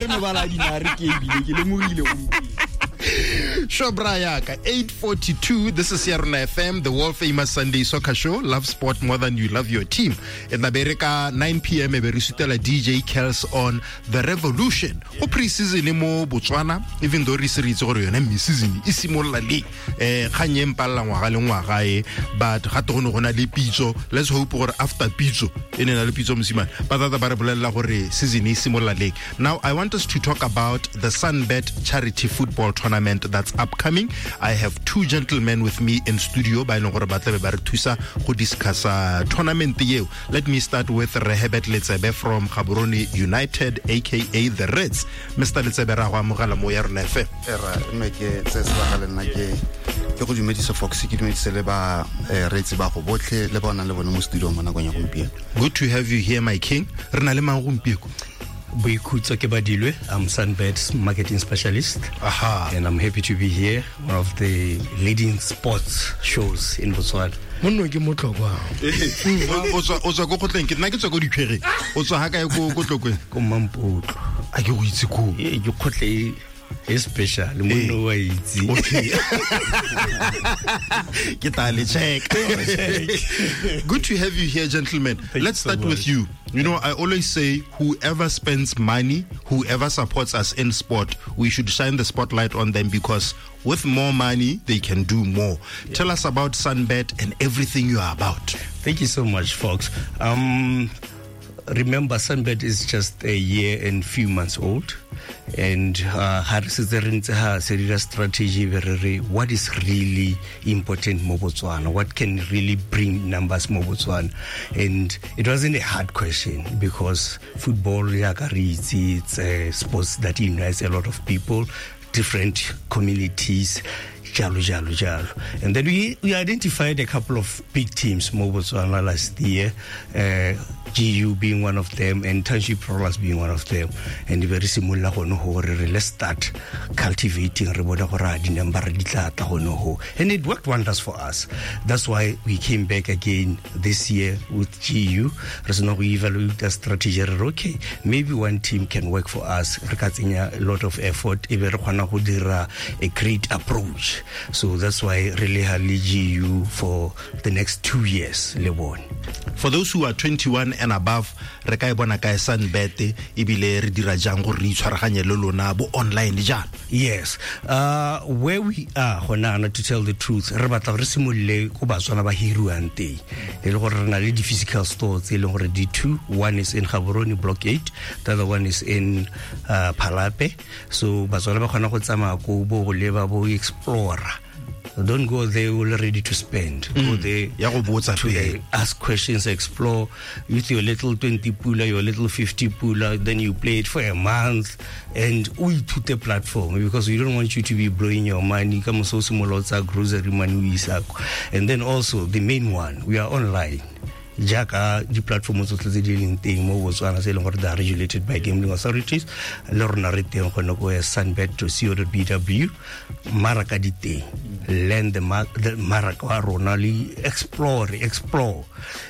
mebala a dinare ke ebile ke lemogile gompieno. Shobra yaka 8:42. This is Yarona FM, the world famous Sunday soccer show. Love sport more than you love your team. E tla be re ka 9 p.m. e be re sutela DJ Kels on The Revolution. Go pre-season mo Botswana, even though re se re itse gore yone mid-season e simolola leng. Kgang e mpalla ngwaga le ngwaga e, but ga te go ne go na le pitso. Let's hope gore after pitso e ne na le pitso mosimane. Ba tata ba re bolelela gore season e simolola leng. Now I want us to talk about the Sunbet Charity Football Tournament that's upcoming. I have two gentlemen with me in studio ba e leng gore ba tlabe ba re thusa go discussa tournament eo. Let me start with Rehebet Letsebe from Gaborone United, aka the Reds. Mr. Letsebe, ra go amogela mo ya rona FM. Era mme ke tse sebaka le nna ke go dumedisa Fox, ke dumedise le ba reetsi ba go botlhe le ba o nang le bone mo studio mo nakong ya gompieno. Good to have you here, my king. Re na le mang gompieno? Boikhutso Kebadilwe. I'm Sunbet's marketing specialist. Aha. And I'm happy to be here, one of the leading sports shows in Botswana. Monno ke motlhokwa. O tswa ko kgotleng, ke nna ke tswa ko Dikgwereng. O tswa ha kae ko Tlokweng? Ko Mampotlo. A ke go itse ko. Ee, ke kgotle e special, monno wa itse. Okay. Ke tla le check. Good to have you here, gentlemen. Thank Let's you so start with much. you. You know, I always say whoever spends money, whoever supports us in sport, we should shine the spotlight on them because with more money, they can do more. Yeah. Tell us about Sunbet and everything you are about. Thank you so much, folks. Remember, Sunbet is just a year and few months old. And ha re setse re ntse ha se dira strategy be re re what is really important mo Botswana, what can really bring numbers mo Botswana. And it wasn't a hard question because football, jaaka re itse, it's a sports that unites a lot of people, different communities, jalo, jalo, jalo. And then we identified a couple of big teams mo Botswana last year, GU being one of them and Township Rollers being one of them. And we simolola gone ho re re let's start cultivating re bone gore a di-number di tla tla gone ho. And it worked wonders for us. That's why we came back again this year with GU. Re sena go evaluate the strategy re re, okay, maybe one team can work for us. Re ka tsenya a lot of effort e be re kgona go dira a great approach. So that's why re le ha le GU for the next 2 years le bone. For those who are 21 and above, re ka e bona kae Sunbet ebile re dira jang gore re itshwaraganye le lona bo online jang? Yes. Where we are gona ana, to tell the truth, re batla re simolole ko Batswana ba hiriwang teng. E le gore re na le di-physical stores tse e leng gore di two, one is in Gaborone Block 8, the other one is in Phalape. So Batswana ba kgona go tsamaya ko bo go leba bo explore. Don't go there all ready to spend. Go there Ya go botsa to pele. ask questions, explore with your little 20 pula, your little 50 pula, then you play it for a month and o ithute platform because we don't want you to be blowing your money. Ka moso o simolola o tsaya grocery money o isa kwa. And then also the main one, we are online. Jaaka di-platform tsotlhe tse di leng teng mo Botswana tse e leng gore they are regulated by gambling authorities, le rona re teng gone ko sunbet dot co dot b w, mmaraka di teng. Learn the mmaraka wa rona le explore.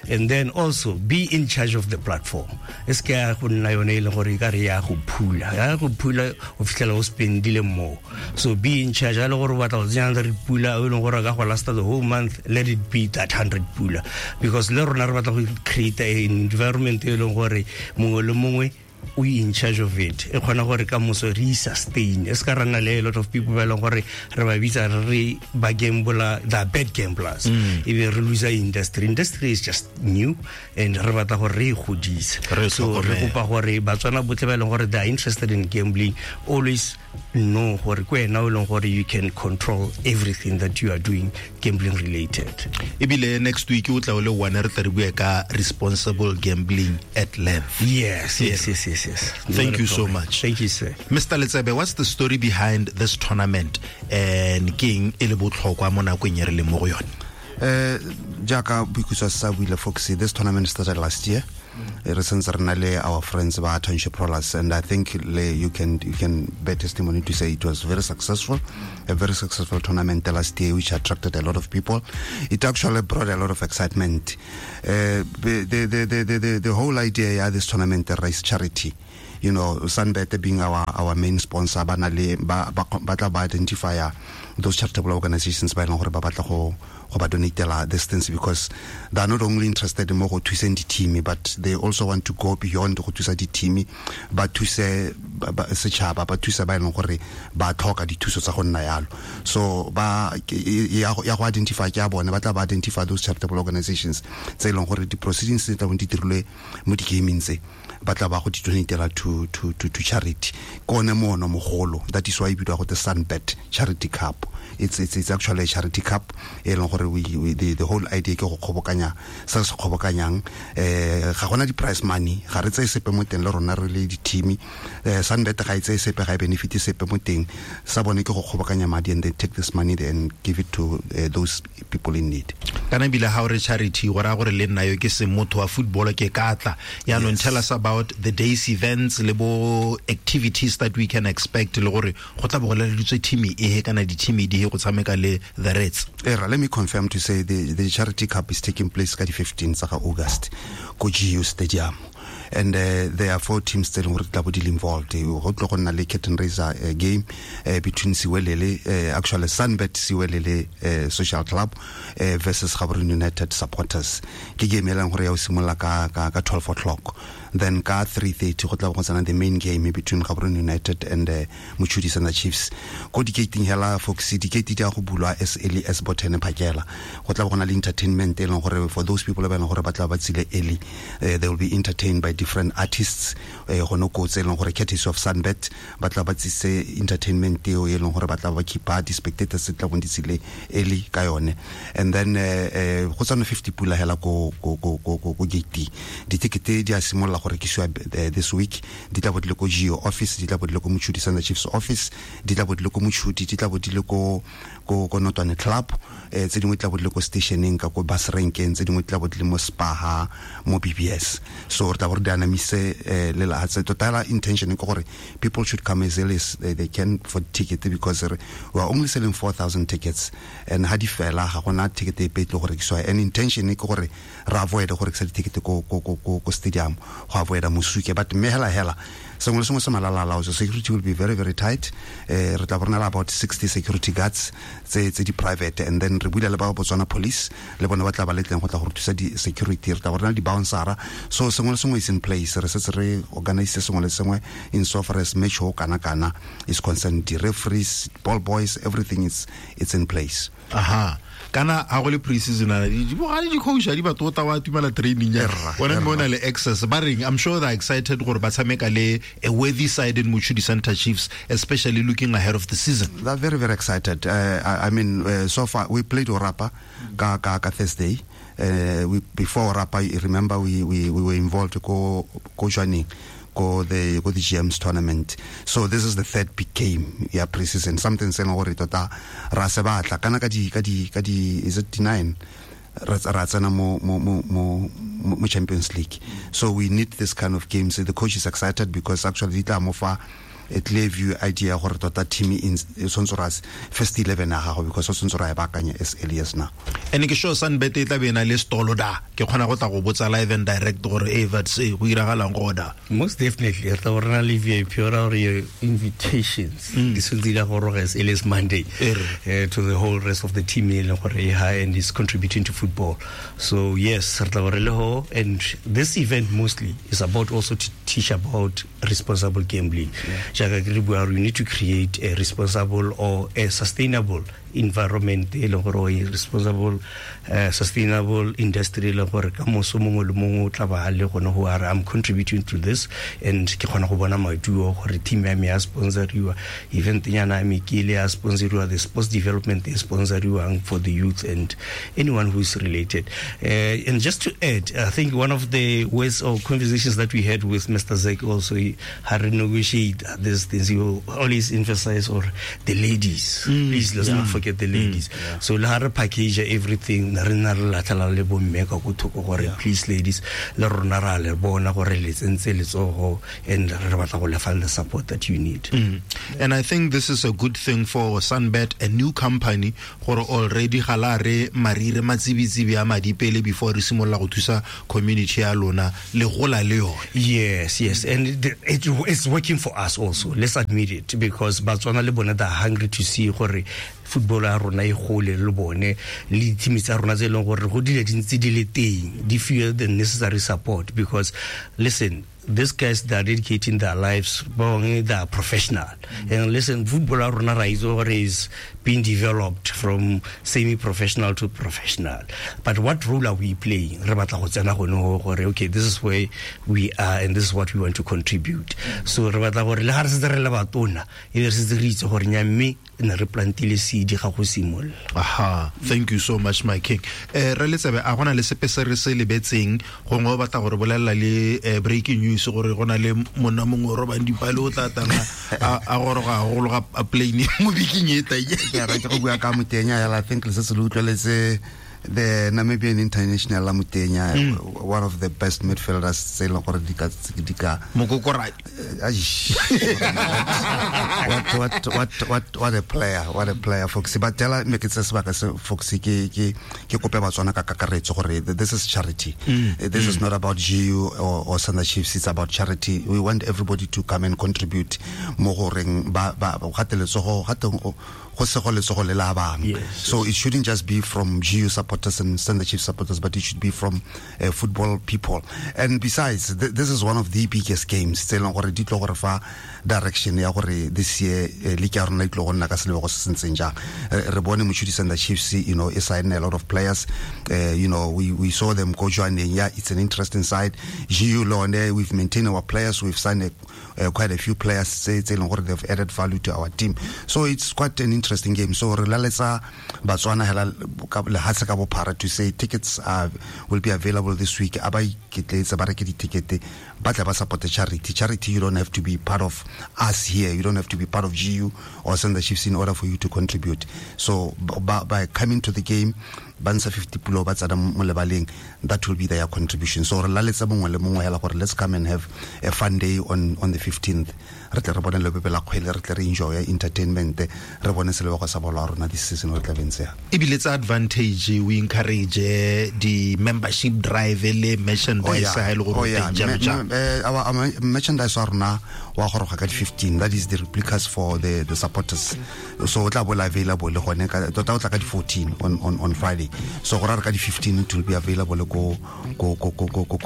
And then also be in charge of the platform. E se ke ya go nna yone e leng gore e ka re ya go phula. Ya go phula o fitlhela o spendile more. So be in charge. Ha e le gore o batla go tsenya 100 pula, o e leng gore a ka go lasta the whole month, let it be that 100 pula. Because le rona re batla go create an environment e leng gore mongwe le mongwe o in charge of it. E kgona gore ka moso re sustain. E se ka ra nna le a lot of people ba e leng gore re ba bitsa re re ba gambler, they are bad gamblers. E be re lose industry. Industry is just new and re batla gore re e godise. Re So re tlhokomele. kopa gore Batswana botlhe ba e leng gore they are interested in gambling, always know gore ke wena o leng gore you can control everything that you are doing gambling related. Ebile next week o tla o le one re tla re bua ka responsible gambling at length. Yes, yes, yes, yes, yes. Thank Not a you so problem. much. Thank you, sir. Mr. Letsebe, what's the story behind this tournament and keng e le botlhokwa mo nakong e re leng mo go yone? Jaaka Boikhutso sa buile Fox, this tournament started last year. Re sentse re na le our friends ba Township Rollers, and I think le, you can bear testimony to say it was very successful, a very successful tournament last year, which attracted a lot of people. It actually brought a lot of excitement. The whole idea, yeah, this tournament, the race charity. You know, SunBet being our main sponsor, ba na le ba tla ba identify those charitable organizations ba e leng gore ba batla go ba donatela these things, because they are not only interested mo go thuseng di-team, but they also want to go beyond go thusa di-team, ba thuse setšhaba, ba thuse ba e leng gore ba tlhoka dithuso tsa go nna yalo. So ba ya go identify ke ya bone, ba tla ba identify those charitable organizations tse e leng gore di-proceedings tse tla bong di dirilwe mo di-gaming tse, ba tla ba go di donatela to charity. Ke one moono mogolo, that is why e bidiwa go the SunBet Charity Cup. It's actually a charity cup e leng gore the whole idea ke go kgobokanya se se kgobokanyang. Ga gona di-prize money, ga re tseye sepe mo teng le rona re le di-team. SunBet ga e tseye sepe, ga e benefit sepe mo teng. Sa bone ke go kgobokanya madi and they take this money and give it to those people in need. Kana ebile ga o re charity, go raya gore le nna yo ke se motho wa football ke ka tla. Yaanong tell us about the day's events le bo activities that we can expect, le gore go tla bo go laleditswe team e kana di-team di go tshameka le the Reds. Era, let me confirm to say the Charity Cup is taking place ka di 15 tsa August ko GU Stadium. And there are four teams tse leng gore tla bo di le involved. Go tlo go nna le curtain raiser game between Siwelele, actually SunBet Siwelele Social Club versus Gaborone United supporters. Ke game e leng gore ya o simolola ka 12 o'clock. Then ka 3:30 go tla go tsena the main game between Gaborone United and Mochudi Center Chiefs. Ko di-gating hela folks, di-gate di a go bulwa as early as bo 10 phakela. Go tla go na le entertainment e leng gore for those people ba e leng gore ba tla ba tsile early, they will be entertained by different artists. Go no ko tse e leng gore courtesy of SunBet ba tla ba tsise entertainment eo e leng gore ba tla ba keepa di-spectators tse tla bong di tsile early ka yone. And then go tsena 50 pula hela ko gate. Di-ticket di a simolola go rekisiwa this week, di tla bo di le ko Geo office, di tla bo di le ko Mochudi Center Chiefs office, di tla bo di le ko Mochudi, di tla bo di le ko Notwane Club, tse dingwe di tla bo di le ko stationeng ka ko bus rankeng, tse dingwe di tla bo di le mo Spaha, mo BBS. So re tla bo re di anamise le lahatse. Tota intention ke gore people should come as early as they can for ticket, because we are only selling 4,000 tickets, and ha di fela ga gona ticket epe e tlo go rekisiwa. And intention ke gore re avoid go rekisa di-ticket ko stadium, go avoida mosuke. But mme hela sengwe le sengwe se malalala, so security will be very very tight. Re tla bona about 60 security guards tse di private, and then re buile le ba Botswana Police le bone ba tla ba letleng go tla go re thusa di security. Re tla bona di bouncera, so sengwe le sengwe is in place. Re setse re organize sengwe le sengwe in so far as match ho kana is concerned, the referees, ball boys, everything is it's in place. Aha. Kana ha go le pre-season ana di bogale di coach di batho ta wa tumela training ya bona mo na le access ba reng. I'm sure they're excited gore ba tshameka le a worthy side in Mochudi Center Chiefs, especially looking ahead of the season. They're very very excited. I mean, so far we played Orapa ka Thursday. We before Orapa, remember we were involved go joining go the GM's tournament. So this is the third big game, yeah, pre-season. Something saying gore tota ra se batla kana ka di is it 9 ra tsena mo Champions League. So we need this kind of games. The coach is excited because actually di tla mo fa a clear view idea gore tota team in tshwanetse ra first 11 ya gago, because o tshwanetse ra e baakanya as early as now. And ke sure SunBet e tla be na le stolo da ke kgona go tla go botsa live and direct gore e vat se go iragalang go da. Most definitely re tla bona le VIP or your invitations di sentse di go roga as early as Monday to the whole rest of the team e leng gore e high and is contributing to football. So yes, re tla gore le ho, and this event mostly is about also to teach about responsible gambling. We need to create a responsible or a sustainable environment, e leng gore a responsible sustainable industry, e leng gore ka moso mongwe le mongwe o tla ba le gone go are I'm contributing to this, and ke kgona go bona maduo gore team ya me ya sponsoriwa, event nyana ya me ke ile ya sponsoriwa, the sports development e sponsoriwang for the youth and anyone who is related. And just to add, I think one of the ways or conversations that we had with Mr. Zek also, how to negotiate these things, he will always emphasize or the ladies, please let's not forget forget the ladies. So le ha re package everything, re nna re latlhela le bomme ka ko thoko gore please ladies, le rona ra le bona gore le tsentse letsogo and re batla go lefa le support that you need. And I think this is a good thing for Sunbet, a new company, gore already ga la re marire matsibitsibi a madi pele before re simolola go thusa community ya lona le gola le yone. Yes, and it's working for us also. Let's admit it, because Batswana le bone they are hungry to see gore football ya rona e gole le bone le di-team tsa rona tse e leng gore go dile di ntse di le teng di fiwe the necessary support, because listen, these guys, they are dedicating their lives, ba bangwe they are professional. And listen, football ya rona ra itse gore is being developed from semi-professional to professional. But what role are we playing? Re batla go tsena gone ho gore, okay, this is where we are and this is what we want to contribute. So re batla gore le ga re setse re le batona, e be re setse re itse gore nya mme ne re plantile seed ga go simolola. Aha, thank you so much, my king. Re letsebe a gona le sepe se re se lebetseng gongwe o batla gore bolelela le breaking news gore go na le monna mongwe o robang dipale o tla tang a goroga a gologa a plane mo biking e tang. Ke rata go bua ka Motenya hela. I think le setse le utlweletse the Namibian international la Motenya, one of the best midfielders tse e leng gore di ka Mokokoradi. Aish. What a player, what a player, Foxy. But tell me ke tse sebaka se Foxy ke kope Batswana ka kakaretso gore this is charity. This is not about GU or Sanda Chiefs, it's about charity. We want everybody to come and contribute mo goreng ba gate letsogo gate go se go letsogo le la bang. So it shouldn't just be from GU supporters and Sanda Chiefs supporters, but it should be from football people. And besides, this is one of the biggest games tse e leng gore di tlo gore fa direction ya gore this year league ya rona e tlo go nna ka selebego se se ntseng jang. Re bone Mochudi Sanda Chiefs, you know, e sign a lot of players. You know, we saw them go joining. Yeah, it's an interesting side. GU Lone, we've maintained our players. We've signed quite a few players tse e leng gore they've added value to our team. So it's quite an interesting game. So re laletsa Batswana hela lehatshe ka bophara to say tickets will be available this week. A ba iketletse ba reke di-ticket, ba tla ba support the charity. Charity, you don't have to be part of us here. You don't have to be part of GU or Sanda Chiefs in order for you to contribute. So by coming to the game, ba ntsha 50 pulo ba tsena mo lebaleng, that will be their contribution. So re laletsa mongwe le mongwe hela gore let's come and have a fun day on the 15th. Re tle re bone lebebe la kgwele, re tle re enjoy entertainment, re bone selebego sa bolo ya rona this season re tla beng tseya. Ebile tsa advantage, we encourage the membership drive le merchandise ha e le gore o teng jalo jang. Our merchandise wa rona wa goroga ka di 15, that is the replicas for the supporters. So o tla bo le available gone ka tota o tla ka di 14 on Friday. So go ra re ka di 15 it will be available ko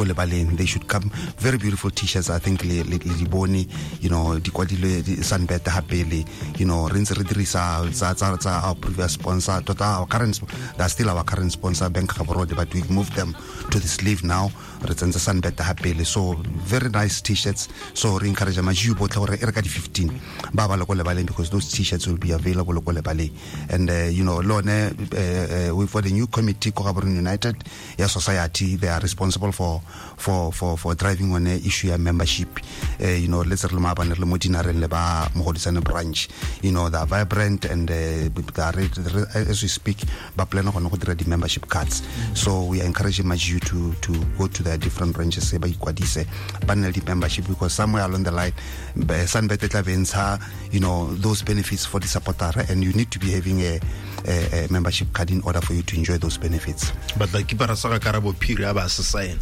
lebaleng. They should come. Very beautiful t-shirts, I think le di bone, you know, di kwadilwe di Sunbet hape, you know, re ntse re dirisa tsa our previous sponsor, tota our current, they are still our current sponsor Bank Gaborone, but we've moved them to the sleeve now. Re tsentse Sunbet hape, so very nice t-shirts. So re encourage ma-GU botlhe gore e re ka di 15 ba ba le ko lebaleng, because those t-shirts will be available ko lebaleng. And you know, lone we've got a new committee ko Gaborone United ya society. They are responsible for driving on issue ya membership. You know, let's re le maabane re le mo dinareng le ba Mogodisane branch, you know, they are vibrant and they are, as we speak, ba plan gone go dira di membership cards. So we are encouraging ma-GU to go to their different branches ba ikwadise ba nne le di membership, because somewhere along the line Sunbet e tla be ntsha, you know, those benefits for the supporter, and you need to be having a membership card in order for you to enjoy those benefits. But the keeper sa Karabo Phiri a ba se sign.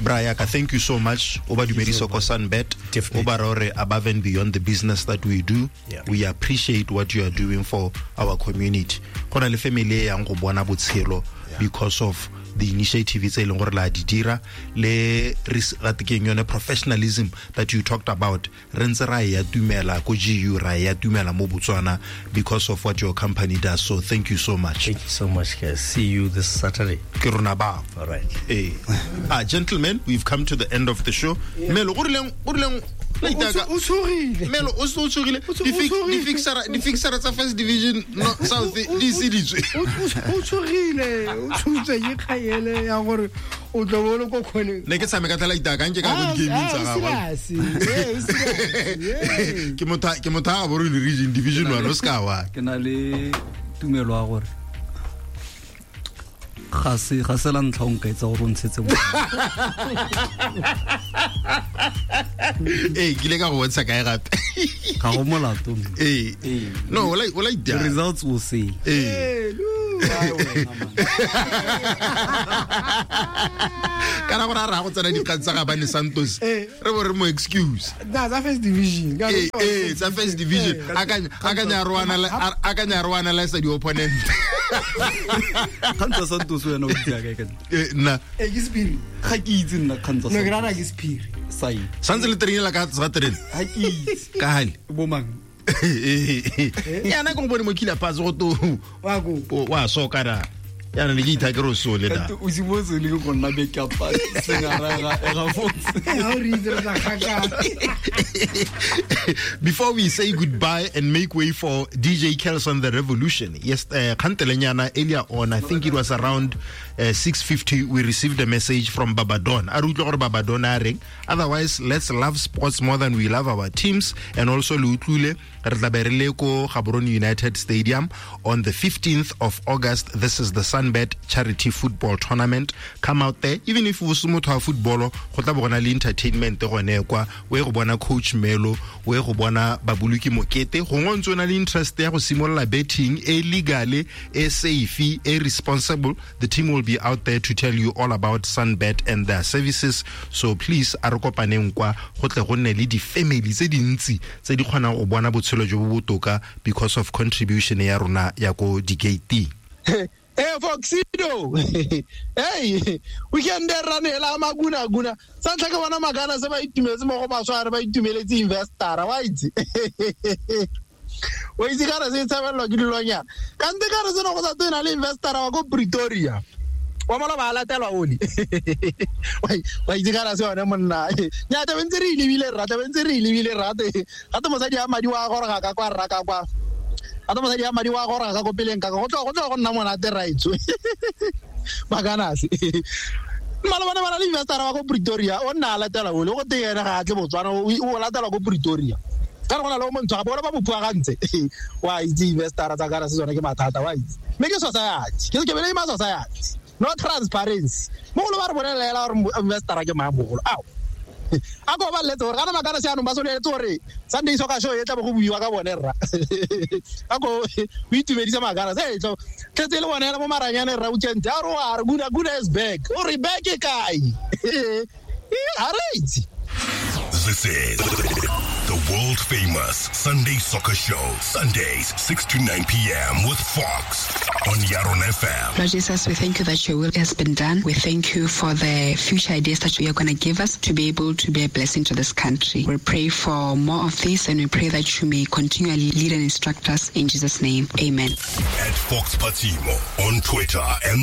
Brian, thank you so much. O ba dumedise ko Sunbet. O ba re above and beyond the business that we do. Yeah. We appreciate what you are doing for our community. Go na le family e yang go bona botshelo because of the initiative tse e leng gore la di dira le ratekeng yone professionalism that you talked about. Re ntse ra ya tumela ko GU, ra ya tumela mo Botswana because of what your company does. So thank you so much. Thank you so much, guys. See you this Saturday. Ke rona ba. All right. Gentlemen, we've come to the end of the show. Melo, o rileng O tshogile. Melo o se o tshogile. Di fixera tsa first division no south di seditswe. O tshogile, o tshotse ke kgaele ya gore o tlo bo le ko khone. Ne ke tshameka tla itaka nke ka go di gaming tsa gago. Ke motho a borone region division 1 o ska wa. Ke na le tumelo ya gore ga se la ntlha o nka etsa gore o ntshetse mo. Ee, ke ile ka go bontsha kae gape? Ga go molato. Ee. No, o la the results will say. Ee. Kana gore a ra go tsena dikgang tsa Gabane Santos. Re bo re mo excuse. Na tsa first division. Ee, tsa first division. Akanya re o analyze di opponent. Kgang tsa Santos wena o itse kae ka? Nna. Ee, ke sephiri. Ga ke itse nna kgang tsa. No, ke rata ke sephiri. Sai. Santse le trainela ka tsa train. Ga ke itse. Ka hale. Bo mang? Yana go bone mo kila pass go to. Wa go. Wa soka da. Yana le ke itha ke ro sole da. O simotse le go nna beke a pass sengara ga fotse. Ha o re itse re tla kgakala. Before we say goodbye and make way for DJ Kelson the Revolution. Yes, kgantelenyana earlier on, I think it was around 6:50, we received a message from Babadon. A re utlwe gore Babadon a reng. Otherwise, let's love sports more than we love our teams. And also le utlwile re tla be re le ko Gaborone United Stadium on the 15th of August. This is the Sunbet Charity Football Tournament. Come out there, even if o se motho wa football, go tla bo gona le entertainment gone kwa. O ye go bona Coach Melo, o ye go bona Babuluki Mokete. Gongwe o ntse o na le interest ya go simolola betting e legale, e safe, e responsible. The team will be out there to tell you all about Sunbet and their services. So please, a re kopaneng kwa go tle go nne le di-family tse dintsi tse di kgonang go bona botshelo jo bo botoka because of contribution ya rona ya ko di-gate. Hey, Foxido. Hey, we can ranela maguna guna. Sa ntlha ke bona magana se ba itumetse mo go baswa re ba itumeletse investor wa itse. O itse kana se tshabelwa ke dilonyana. Kante ka re seno go sa tsena le investor wa ko Pretoria. Wa mola ba latelwa oli. Wa itse kana se yone monna. Nya ta bentse re lebile rra, ta bentse re lebile rra. Gape mosadi ya madi wa goroga ka kwa rra ka kwa. Ata mosadi ya madi wa goroga ka ko peleng ka go tlo go nna monate raitso. Maganase. Malobane ba na le investor wa ko Pretoria, o nna a latela ole go teng ene ga a tle Botswana, o latela ko Pretoria. Ka re go na le o montsho gape bona ba mo phuagantse. Wa itse investor tsa kana se tsone ke mathata wa itse. Mme ke society, ke bele ma society. No transparency. Mogolo ba re bolelela gore investor ke mang mogolo. Ao. A ko ba letse gore kana makana se anong ba soleletse gore Sunday Soccer Show e tla bo go buiwa ka bone rra. A ko o itumedisa makana se tlo tletse le bone mo maranyane rra weekend a re a re guna guna is back. O re back e kae? A re itse. This is the world famous Sunday Soccer Show, Sundays 6 to 9 p.m. with Fox on Yaron FM. Lord Jesus, we thank you that your will has been done. We thank you for the future ideas that you are going to give us to be able to be a blessing to this country. We pray for more of this, and we pray that you may continually lead and instruct us in Jesus' name. Amen. At Fox Patimo on Twitter and